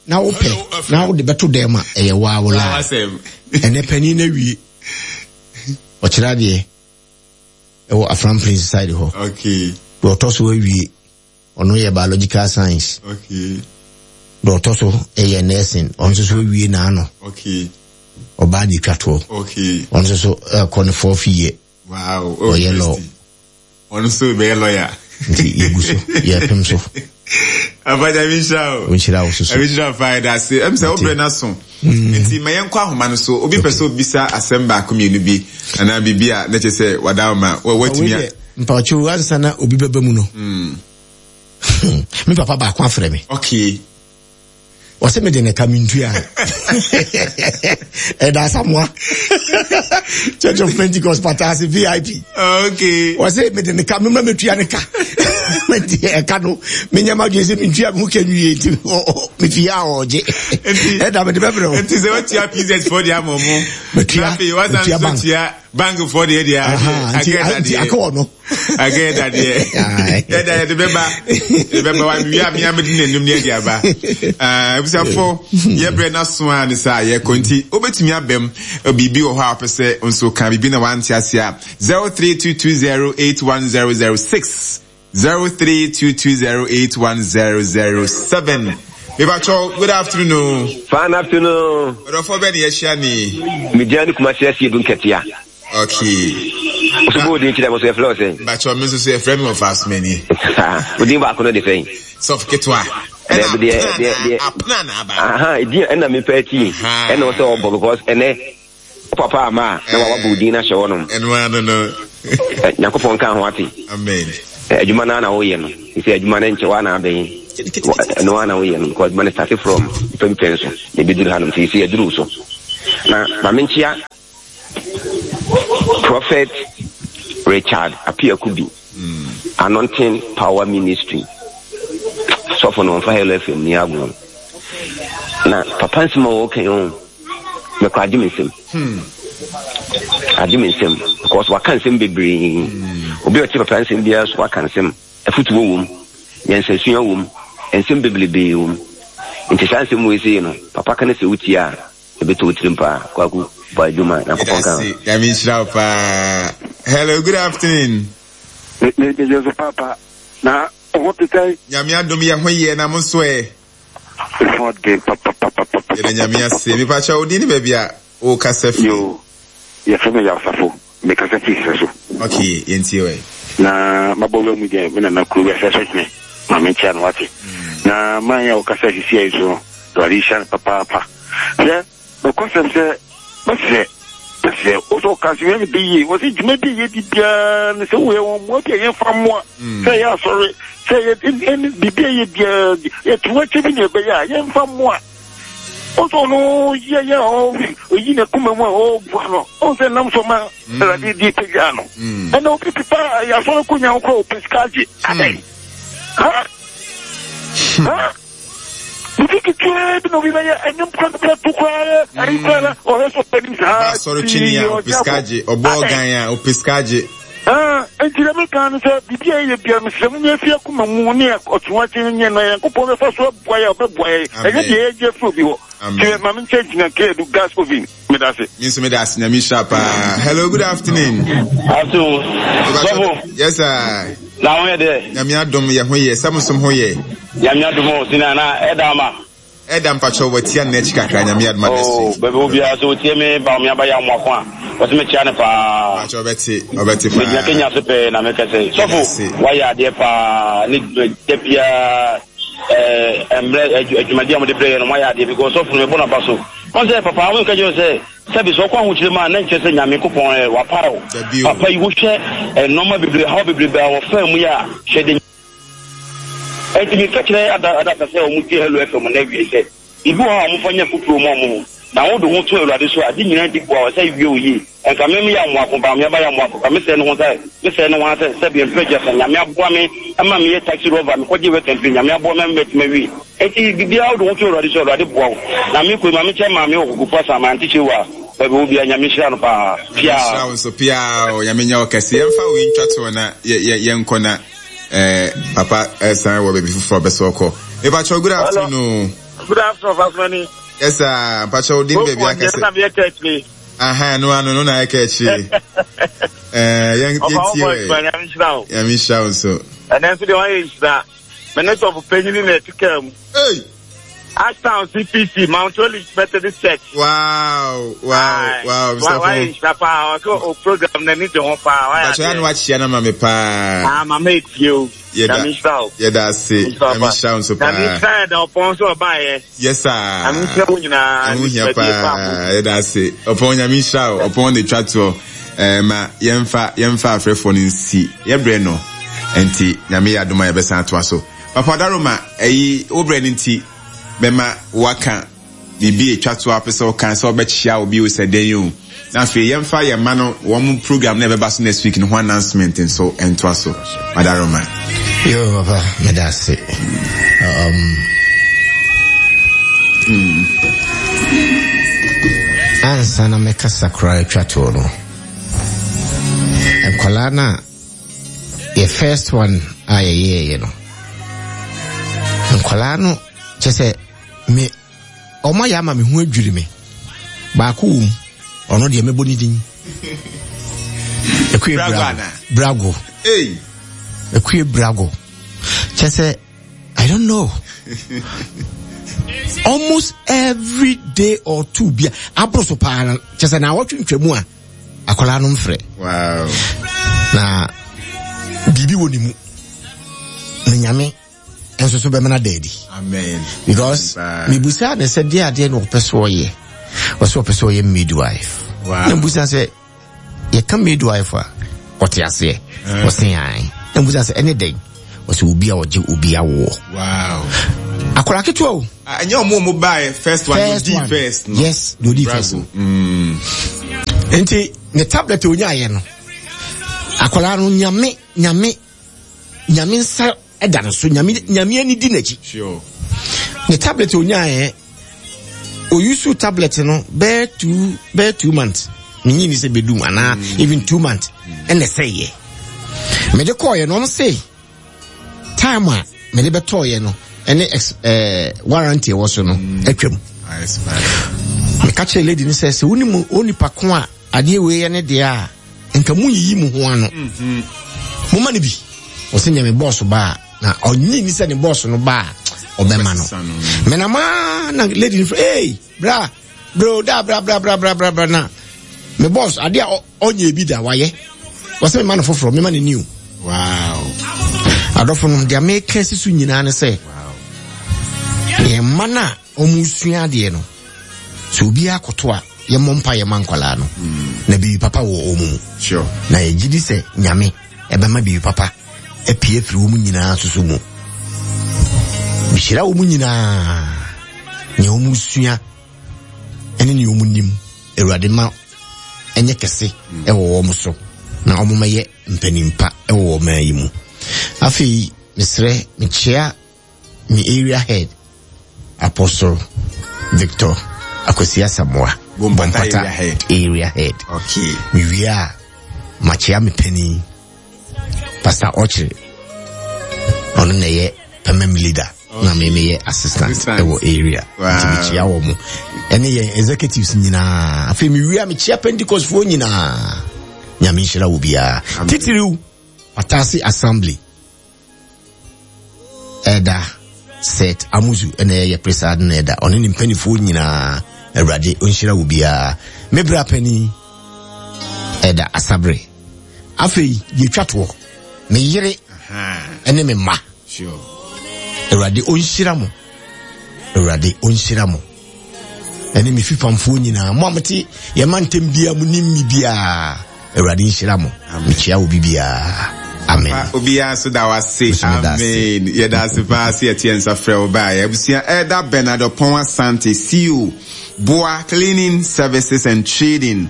na wopɛ na wode bɛto dɛm a ɛyɛ waa wo laa ɛnɛ panin no awie ɔkyerɛ adeɛ ɛwɔ Afram Prince side hɔ okay. deɛ ɔtɔ so awie ɔno yɛ biological science okay. deɛ ɔtɔ so ɛyɛ nursing ɔno nso so awie n'ano okay. ɔbaa de twa toɔ okay. ɔno nso so ɛkɔ ne fourth year Wow. Oh, Ɔyɛ law. Ɔno nso bɛyɛ lawyer. Nti yɛgu so, yɛpem so. Afa Nyame nhyira o. Nhyira wo soso. Nyame nhyira fa yɛda ase. Ɛm sɛ wobrɛ no aso. Mm. Nti ma yɛnkɔ ahoma no so. Obi pɛ sɛ obisa asɛm baako mmienu bi anaa biribi a na kyerɛ sɛ wada wo ma watumi a. Mpakyɛw ansa na obi bɛba mu no. Mm. Me papa baako afrɛ me. Okay. Ɔsɛ mede ne ka mentua. Ɛda Asamoa. Church of Pentecost Patase VIP. Okay. Ɔsɛ mede ne ka mema metua ne ka. Mede ɛka no menyɛ m'adwene sɛ mentua me ho ka nwie nti mefie a ɔgye. Ɛda mede bɛbrɛ wo. Nti sɛ watua PZ foɔ deɛ ama ɔmo. Metua. Metua bank. Bank foɔ deɛ deɛ. Nti aka wɔ no. Akɛyɛ dadeɛ. Yɛda yɛde bɛba. Yɛde bɛba wa wia mi amedi n'anim ne yɛde aba. Abusuafo yɛbrɛ n'aso a ne saa yɛkɔ nti wobɛtumi abam biribi wɔ hɔ a wopɛ sɛ nso ka biribi na wante ase a 0322081006 0322081007 Mebatwɔ good afternoon. Fine afternoon. Ɔdɔfoɔ bɛ ne yɛahyia ni. Media ne Kumasi asie du nkatia. Okay. Wo so bɔ odin kyerɛ mo so yɛfrɛ wo sɛn? Bakyɛ me nso so yɛfrɛ me wɔfa asomani. Odin baako no de sɛn? Sɔfo ketewa. Ɛna deɛ apena na aba. Aha, edin ɛna mepɛ ati. Ɛna wɔ sɛ ɔbɔ because ɛnɛ wo papa ama a na wabɔ odin no ahyɛ hɔnom. Ɛno ano no. Nyankopɔn nka ho ate. Amen. Adwuma no ara na woyɛ no. Sɛ adwuma no nkyɛ woa na abɛn. Ɛno ara na woyɛ no because adwuma no start from nipa bi pɛn so na ebeduru hanom nti sɛ yɛduru so. Na ma menkyea Prophet Richard Apiakubi Anointing Power Ministry sɔfo no ɔmfa Hello FM ni agorɔ. Na papa nsɛm a wɔka yi o mekɔ agye me nsam. Hmm. Agye me nsam because waka nsɛm bebree. Hmm. Obi a ɔte papa nsɛm biara so waka nsɛm. Afutuo wom, nyansasua wom, nsɛm bebrebe wom. Nti saa nsɛm wei sei no, papa ka no sɛ wotie a, ɛbɛtɔ wo tirim paa. Kwaku, bɔ adwuma. Nyankopɔn ka ho. Nyame nhyira wo paa. Hello, good afternoon. Me me me so papa. Na ho te sɛn? Nyame adom yɛ ho yɛ na mo nso ɛ. Ho de papapapapa. Yɛda Nyame ase. Mepakyɛ wo din ne baabi a wo kasa firi. Yo, yɛfrɛ me Yawsafo. Me kasa firi serɛ so. Ok, yɛntie wɛ. Na mabɔ wura mu deɛ me nana kuro bi asɛ so hene ma menkyea no wate. Na man a ɔkasa sisi ayi so no, Awurade nhyira no papaapa. Hwɛ, Nokwasɛm sɛ, mɛsrɛ, mɛsrɛ wo sɛ ɔka sɛ yɛn bɛyie. Wɔ sɛ dwuma bi a yɛdi biara no sɛ woyɛ wɔn mmoa bi a yɛmfa mmoa, sɛ ɛyɛ asɔre, sɛ ɛyɛ ɛne biribi a yɛ biara, yɛto akyɛ bi na ɛbɛyɛ a yɛmfa mmoa. Wo sɛ ɔno yɛ yɛ ɔyi ne koma mu a ɔboa no, ɔhu sɛ nam so ma Awurade di pagyaa no. Ɛna obi pepa asɔre kɔ nya wo kora ɔpɛ sika agye. Adɛn? Ha? Ha? Biribi ketewaa bi na obi bɛyɛ ɛnyɛ mpra to koraa ayi koraa na ɔhwɛ sɛ ɔpɛ nim saa. Asɔre twene a ɔpɛ sika gye, ɔbɔ ɔgan a ɔpɛ sika gye. Nti dɛ meka no sɛ biribi a yɛyɛ biara mesrɛ mo nyɛ fi akoma mu ne ɔtoakye nyɛ na Nyankopɔn bɛfa so aboa yɛ a ɔbɛboa yɛ ɛnyɛ deɛ yɛgye afiri obi hɔ. Nti ma menkyɛ gyina Keadu gas oven. Meda ase. Me nso meda ase nyame nhyira paa. Hello, good afternoon. Afternoon. Sɔfo. Yes sir. Na ho yɛ dɛ. Nyame adom yɛ ho yɛ. Sɛ mo som ho yɛ. Nyame adom o sina na ɛda ama. Ɛda mpakyɛw watia nna akyi kakra nyame adom a next oh, week. Baabi obiara sɛ otie me ba me aba yɛ amoako a wɔsɛ mekyia no paa. Mpakyɛw ɔbɛte ɔbɛte paa. Megyina Kenya so pɛɛ na mekɛsɛ. Sɔfo wayɛ adeɛ paa ne da biara ɛɛ mmerɛ adwumadi a wɔde brɛ yɛ no moayɛ adeɛ because sɔfo no mebɔ n'aba so. Wɔn sɛ, Papa, wo nka kyerɛ sɛ, sɛbi sɛ ɔkɔ ahokyere mu a, na nkyerɛ sɛ Nyame Nkopɔn ɛ, wapare wo. Papa yi, wohwɛ nnoɔma bebree, haw bebrebe a wɔfaa mu yi a, hwɛ de. Ɛnti meka kyerɛ ada adasa sɛ wɔn tie Hello FM nnɛ awiei sɛ, biribi wɔ hɔ a wɔmfa nyɛ afuturo mma wɔn ho, na wode wo ho to Awurade so a, ade nyinaa di boa wo sɛ wie wo yie. Nka me meyɛ amoako ba, me aba yɛ amoako ba, me sɛɛ ne ho sɛ, me sɛɛ ne ho ara sɛ, sɛbi mpɛ gya sɛ Nyame aboa me ma meyɛ taxi rɔva, me kɔgye work mfiri, Nyame aboa me ama matumi awie. Enti biribiara wode wo ho to Awurade so a, Awurade boa wo. Na me kɔ yi, ma me kyɛ maame wɔ Kokofu Asan, my auntie Chewa, baabi ɔwɔ biara, Nyame nhyira no paa. Nyame nhyira wo nso piaa o, Nyame nyɛ wo kɛse. Yɛmfa wei ntwa toɔ na yɛ yɛ yɛnkɔ na eh, papa eh, san wɔ baabi foforɔ ɔpɛ sɛ ɔkɔ. Mepakyɛw good afternoon. Good afternoon, Pastor Yes sir, mpakyɛw wo din baabi akɛse. Aha, no ano no na ɛka akyire. Eh, yɛn yɛtie wɛ. Nyame nhyira wo. Nyame nhyira wo nso. Ɛnɛ nso deɛ wayɛ nhyira. Me ne sɔfo panyin na ɛte kaa mu. Hey! Ashtown CPC, Mount Olive Methodist Church. Wow, wow, wow, Mr. Wayɛ nhyira paa. Ɔsɛ o program n'ani gye ho paa. Wayɛ adeɛ. Bàtchɛ ano akyia na ma me paa. Ah, mama etie o. Yɛda Nyame nhyira wo. Yɛda ase. Nyame nhyira wo nso paa. Nyame nhyira yɛda ɔpɔn so ɔbaeɛ. Yes sir. Nyame nhyira wo nyinaa. Ɛho hia paa. Yɛda ase. Ɔpɔn Nyame nhyira wo. Ɔpɔn na etwa toɔ. Ɛɛ ma yɛmfa yɛmfa afrɛfoɔ no nsi. Yɛbrɛ no. Nti Nyame yɛ adom a yɛbɛsan atoa so. Papa Daroma ɛyi wo brɛ no nti bɛma waka biribi a etwa to a wopɛ sɛ woka sɛ wobɛkyea obi o sɛ dɛn o. Na afei yɛmfa yɛn mma no wɔn program na ɛbɛba so next week no ho announcement nso ntoa so. Madaroma. Yo, papa, meda ase. Ansa na mɛkasa koraa atwa toɔ no, nkwadaa no a yɛ first one a yɛyɛɛyɛ no, nkwadaa no kyɛ sɛ me ɔmo ayɛ ama me ho adwiri me. Baako wɔ mu, ɔno deɛ mɛbɔ ne din. Ekue Brago. Brago. Ekue Brago. Kyɛ sɛ I don't know. Almost every day or two bia aboro so paa no kyɛ sɛ na awɔtwe ntwamu a akwadaa no mfrɛ. Wow. Na biribi wɔ ne mu. Na nyame nso so bɛmena da adi. Amen. Because mebusa ne sɛ deɛ adeɛ na ɔpɛ so ɔyɛ. Ɔsɛ ɔpɛ sɛ ɔyɛ midwife. Wow. Na mebusa sɛ yɛka midwife a ɔte aseɛ. Ɔse ae. Na mbusa sɛ ɛne dɛn? Ɔsɛ obi a ɔgye obi awoɔ. Wow. Akwadaa ketewa o. Ah, ɛnyɛ ɔmo ɔmo baeɛ first one, first one. first no. Yes, deɛ odi first no. Mm. Nti ne tablet a onyaayɛ no, akwadaa no nyame nyame nyame nsa ɛda no so nyame nyame ani di n'akyi. Sure. Ne tablet a onyaayɛ oyusu tablet no bɛyɛ two bɛyɛ 2 months menyi ni sɛ bɛdum anaa even 2 months ɛna ɛsɛeɛ. Mede kɔɔyɛ no, ɔmo se time a mede bɛtɔɔyɛ no ɛne ex warranty ɛwɔ so no atwam. Meka kyerɛ lady no sɛ sɛ wonim onipa ko a adeɛ wei yɛ ne deɛ a, nka munyiyi mo ho ano, momma no bi. Ɔsɛ nea me bɔɔso ba a, na ɔnyi ni sɛ ne bɔɔso no ba a ɔbɛma no. Menama na lady no frɛ, hey bra bro da bra bra bra bra bra bra, na me bɔɔso adeɛ a ɔnyɛ bi da wayɛ, wɔsɛ mema no foforɔ, mema no new. Wow. Adɔfo no, deɛ meka si so nyinaa ne sɛ yɛn mma no a wɔn sua adeɛ no, sɛ obiara koto a, yɛmmɔ mpa yɛma nkwadaa no na biribi papa wɔ wɔn mu. Na yɛgye di sɛ Nyame ɛbɛma biribi papa apue afiri wɔn nyinaa soso mu. Mehyira wɔn nyinaa, nea wɔn sua ɛne nea wɔn nim, Awurade ma ɛnyɛ kɛse ɛwɔ wɔn so na wɔn mɛyɛ mpanimpa ɛwɔ wɔn yi mu. Afei mesrɛ, mekyea me area head, Apostle Victor Akwasi Asamoah, Bompata area head. Area head. Okay. Mewie a, makyea me panin, Pastor Ɔkyere. Ɔno na ɛyɛ permanent leader. Na me meyɛ assistant ɛwɔ area. Nti mekyea wɔ mo. Ɛne yɛn executives nyinaa. Afei mewie a, mekyea Pentecost foɔ nyinaa. Nyame nhyira wo biara. Titiriw, Patase Assembly. Ɛda Seth Amuzu ɛna ɛyɛ presa na ɛda ɔne ne mpanimfoɔ nyinaa, Awurade ɔnhyira wo biara. Me bra panin ɛda Asabre. Afei deɛ twa toɔ, me yere ɛne me mma, Awurade ɔnhyira mo, Awurade ɔnhyira mo, ɛne me fipamfoɔ nyinaa, mo a mote yɛma ntɛm biara mo nim me biara, Awurade nhyira mo. Mekyia wo bibiara. Amen. Obiara nso da wase. Amen. Yɛda ase paa sɛ yɛte yɛn nsa frɛ wo baeɛ. Abusua, Elder Bernard Ɔpɔn Asante, CEO, Boa Cleaning Services and Trading,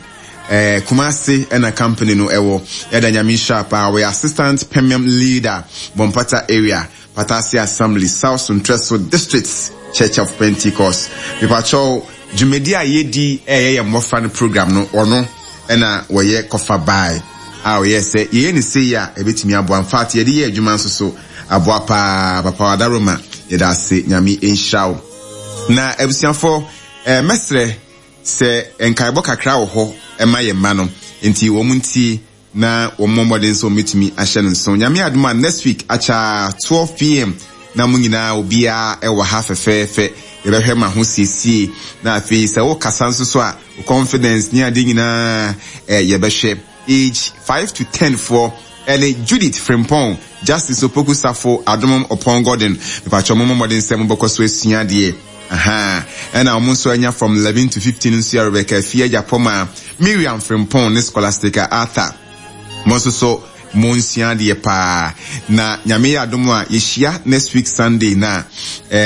eh, Kumasi ɛna company no ɛwɔ. Yɛda Nyame nhyira paa. Wɔyɛ Assistant Permium Leader, Bompata Area, Patase Assembly, South Suntreso District, Church of Pentecost. Mepakyɛw, dwumadi a yɛdi ɛyɛ yɛn mmɔfra no program no, ɔno ɛna wɔyɛ kɔfa bae a ɔyɛ sɛ yɛyɛ ne sei a ɛbɛtumi aboa. In fact, yɛde yɛ adwuma nso so aboa paa. Papa Wadaroma, yɛda ase, Nyame nhyira wo. Na abusuafoɔ, mɛsrɛ sɛ nkaebɔ kakra wɔ hɔ ɛma yɛn mma no, nti wɔn ntie na wɔn mmɔ mmɔden sɛ wɔbɛtumi ahyɛ no nso. Nyame adom a, next week akyaa 12 p.m. na mo nyinaa obiara ɛwɔ ha fɛfɛɛfɛ. Yɛbɛhwɛ ma ho siesie, na afei sɛ wokasa nso so a, confidence ne ade nyinaa yɛbɛhwɛ. Age 5 to 10 foɔ ɛne Judith Frimpong, Justice Opoku Safo, Adomom Opon Gordon. Mepakyɛ mo mmɔden sɛ mobɛkɔ so asua adeɛ. Aha. Ɛna wɔn nso anya from 11 to 15 nso yɛ Rebecca Afie Agyapɔma, Miriam Frimpong ne Scholastica Arthur. Mo nso so mo nsua adeɛ paa. Na Nyame yɛ adom a, yɛhyia next week Sunday na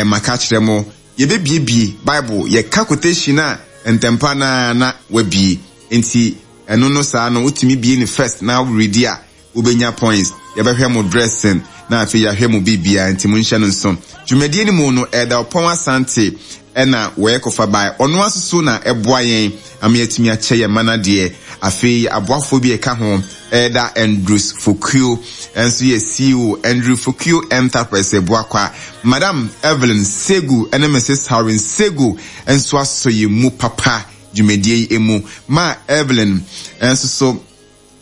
maka kyerɛ mo, yɛbɛbiebie Bible, yɛka quotation a ntɛmpa na wabie. Nti ɛno no saa no wotumi bie ne first na woredi a, wobɛnya points. Yɛbɛhwɛ mo dressing na afei yɛahwɛ mo biribiara, nti monhyɛ no nso. Dwumadie no mu no, Ɛda Ɔpɔn Asante ɛna wɔyɛ kɔfa bae. Ɔno aso so na ɛboa yɛn ama yɛatumi akyɛ yɛn mma no adeɛ. Afei aboafoɔ bi a ɛka ho, Ɛda Andrews Fokuo nso yɛ CEO, Andrew Fokuo Enterprise Abuakwa. Madam Evelyn Segu ne Mrs. Harwin Segu nso asɔ yɛn mu papa dwumadie yi mu. Ma Evelyn nso so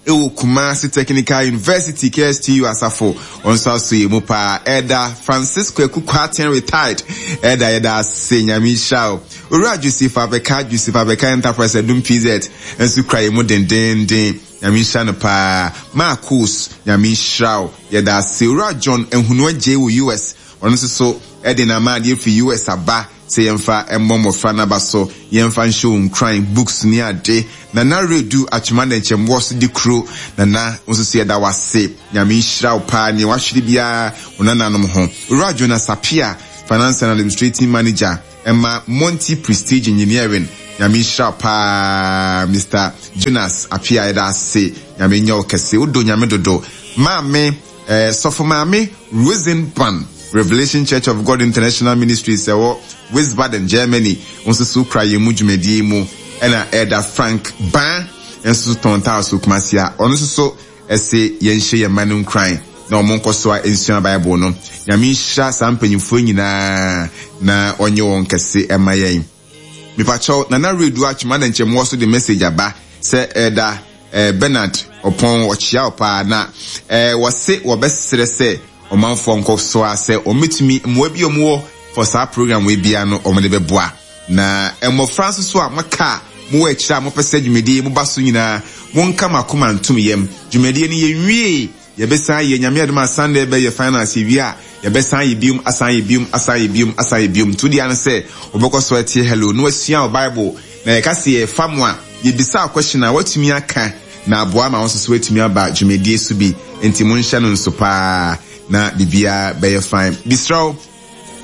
ɛwɔ Kumasi Technical University, KSTU asafo, wɔn nso aso yɛ mu paa. Ɛda Francis Kwaku Kwarteng, retired ɛda, yɛda ase, Nyame nhyira wo. Owura Joseph Abeka, Joseph Abeka Enterprise Adum PZ nso kura yɛ mu dendenden, Nyame nhyira no paa. Marcos, Nyame nhyira wo, yɛda ase. Owura John Ehunu Agye wɔ US, ɔno nso so ɛde n'amaadeɛ firi US aba. sɛ yɛmfa mmɔ mmɔfra no aba so, yɛmfa nhyɛ wɔn nkuran, books ne ade. Nana Redu Atwema Nɛnkyɛmboɔ so de kuro, Nana wo nso so yɛda wo ase, Nyame nhyira wo paa, nea wahwere biara wo nananom ho. Owura Jonas Appiah, Finance and Administrating Manager ɛma Monty Prestige Engineering, Nyame nhyira wo paa Mister Jonas Appiah yɛda ase, Nyame nyɛ wo kɛse, wodɔ Nyame dodo. Maame eh, Sɔfo Maame Rosenban, Revelation Church of God International Ministries ɛwɔ Wiesbaden, Germany, wo nso so kura yɛn mu dwumadie yi mu, ɛna Elder Frank Ban nso so tɔn tiles wɔ Kumasi a ɔno nso so ɛse yɛnhyɛ yɛn mma no nkuran na wɔn nkɔ so a nsua Bible no. Nyame nhyira saa mpanyinfoɔ nyinaa na ɔnyɛ wɔn kɛse ɛma yɛn. Mepakyɛw, Nana Redu Atwom adɛn nkyɛ mowɔ so de message aba sɛ Elder eh, Bernard Ɔpɔn ɔkyea wo paa na eh, wɔse wɔbɛsrɛ sɛ ɔmanfoɔ nkɔ so ara sɛ wɔbɛtumi mmoa bi a wɔwɔ for saa program wei biara no wɔde bɛboa. Na mmɔfra nso so a moaka a mowɔ akyire a mopɛ sɛ dwumadie yi moba so nyinaa monka mo akoma ntom yam. Dwumadie no yɛnwiee Yɛbɛsan ayɛ, Nyame adom a Sunday bɛyɛ finals yɛwie a yɛbɛsan ayɛ biom asan ayɛ biom asan ayɛ biom asan ayɛ biom nti wo deɛ ara ne sɛ wobɛkɔ so atie Hello na wasua wo Bible na yɛka sɛ yɛfa mo a yɛbisa wo question a woatumi aka na aboa ma wo nso so woatumi aba dwumadie so bi nti monhyɛ no nso paa na biribiara bɛyɛ fine. Mesrɛ wo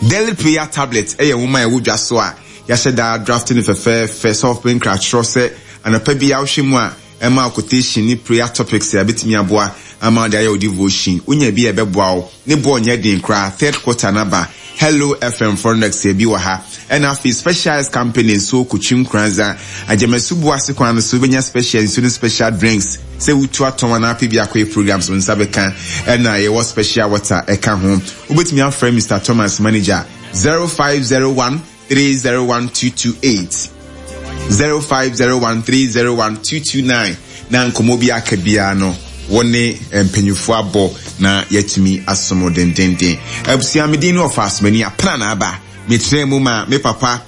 Daily Prayer Tablet yɛ nwoma a ɛwɔ dwa so a yɛahyɛ da adrafte no fɛfɛɛfɛ sɛ wɔpɛ nkrakyerɛ sɛ anɔpa biara wohwɛ mu a Ɛma wo quotation ne prayer topics a ɛbɛtumi aboa ama wode ayɛ wo devotion. Wonya bi a ɛbɛboa wo. Ne boɔ nyɛ den koraa. Third quarter no aba. Hello FM Forenex yɛ bi wɔ ha. Ɛna afei Specialized Company nso Kotwi Nkoranza, Agyamasu Boase kwan no so wobɛnya special nsuo ne special drinks sɛ wotu atɔn anaa apɛ bi akɔyɛ programs wo nsa bɛka. Ɛna yɛwɔ special water ɛka ho. Wobɛtumi afrɛ Mister Thomas manager 0501 301228 0501301229 na nkɔmmɔ bi aka biara no wo ne mpanyinfoɔ abɔ na yɛatumi asom wo dendenden. Abusua me din ne ɔfa asomani apena na aba mekyerɛ mu ma me papa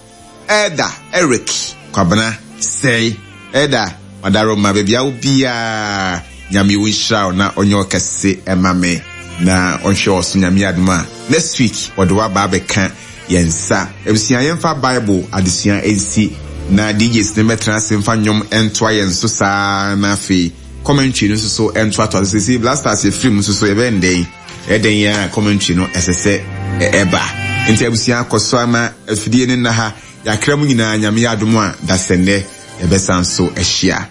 Elder Eric Kwabena Sɛe Elder Madaroma baabi a wo biara Nyame wo nhyira wo na ɔnyɛ ɔkɛse ɛma me na ɔnhwɛ wɔ so Nyame adom a next week ɔde waba abɛka yɛn nsa. Abusua yɛmfa Bible adesua nsi na DJs no mmɛtena ase mfa nnwom ntoa yɛn so saa na afei commentary no nso so ntoatoa so. Seesei Blasters yɛfiri mu nso so yɛbɛyɛ no dɛn? Ɛyɛ dɛn a commentary no ɛsɛ sɛ ɛba. Nti abusua kɔ so ama afidie no nna ha. Yɛakra mu nyinaa Nyame yɛ adom a dasɛnnɛ yɛbɛsan so ahyia.